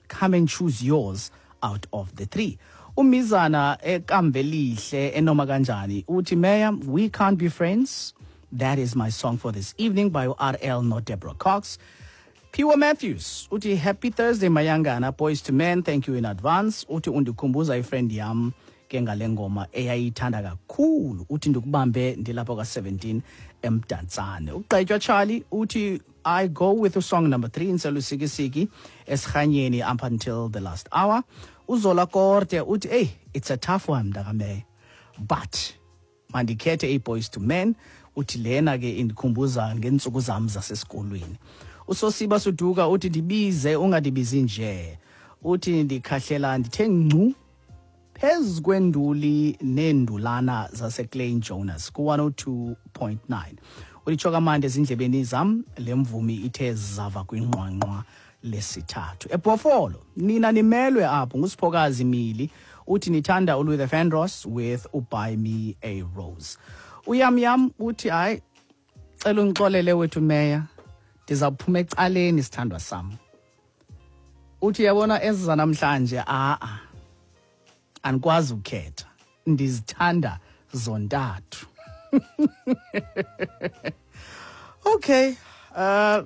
Come and choose yours out of the three. Umizana eKambelihle enoma kanjani uthi, "Mayor, We Can't Be Friends, that is my song for this evening by RL, not Deborah Cox." Piwa Matthews uthi, "Happy Thursday, Mayangana. Boyz II Men, thank you in advance." Uthi undikhumbuza ifriend yam ke ngale ngoma eyayithanda kakhulu. Uthi ndikubambe ndilapho ka-17 eMdantsane. Ugqetywa Charlie uthi, "I go with song number 3, Inselusikisiki esirhanyeni up until the last hour." Uzola Korte uthi, "Hey, it's a tough one, mntakameya, but mandikhethe iBoyz II Men." Uthi lena ke indikhumbuza ngeentsuku zam zasesikolweni. Usosiba Suduka uthi, "Ndibize ungandibizi nje." Uthi ndikhahlela ndithe ngcu phezu kwenduli neendulana zaseKlein Jonas ku-102.9. Ulitsho kamandi ezindlebeni zam le mvumi ithe zava kwinqwanqwa lesithathu eBhofolo. Nina nimelwe apho nguSiphokazi Mili. Uthi nithanda uLuther Vandross with uBuy Me a Rose. Uyam yam uthi, "Hayi, cela ungixolele wethu meya, ndizawuphuma ecaleni, sithandwa sam." Uthi yabona ezi zanamhlanje, a-a, andikwazi ukukhetha, ndizithanda zontathu. Okay,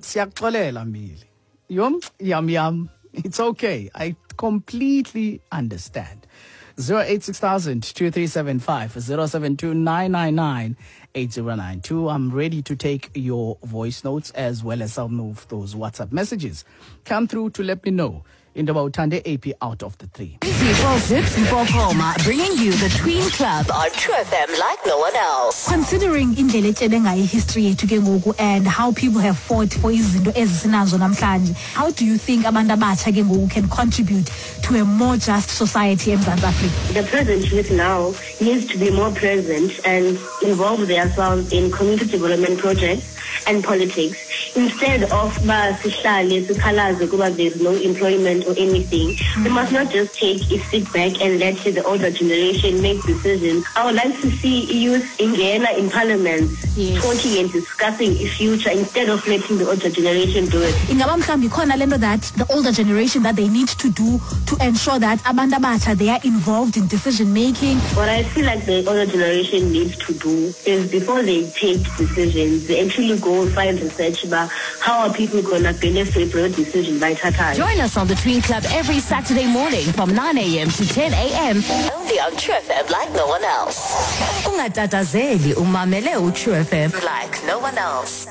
siyakuxolela Mbili yom yam yam. It's okay, I completely understand. 086 2375 072 999 8092. I'm ready to take your voice notes as well as some of those WhatsApp messages. Come through to let me know into yoba uthande AP out of the three. Izifo Zips Mpopoma, bringing you the Tween Club on True FM like no one else. Considering indlela etyebe ngayo history yethu ke ngoku and how people have fought for izinto ezisinazo namhlanje, how do you think abantu abatsha ke ngoku can contribute to a more just society eMzantsi Afrika? The present youth now needs to be more present and involve themselves in community development projects and politics instead of ba sihlale sikhalaze kuba there's no employment or anything. We must not just take a sit back and let the older generation make decisions. I would like to see youth ingena in parliament talking and discussing the future instead of letting the older generation do it. Ingaba mhlawumbi ikhona le nto that the older generation that they need to do to ensure that abantu abatsha, they are involved in decision making? What I feel like the older generation needs to do is before they take decisions, they actually go find research about how are people going to benefit from a decision by Tata. Join us on the Tween Club every Saturday morning from 9 a.m. to 10 a.m. Only on True FM like no one else. Ungatatazeli, umamele uTrue FM like no one else.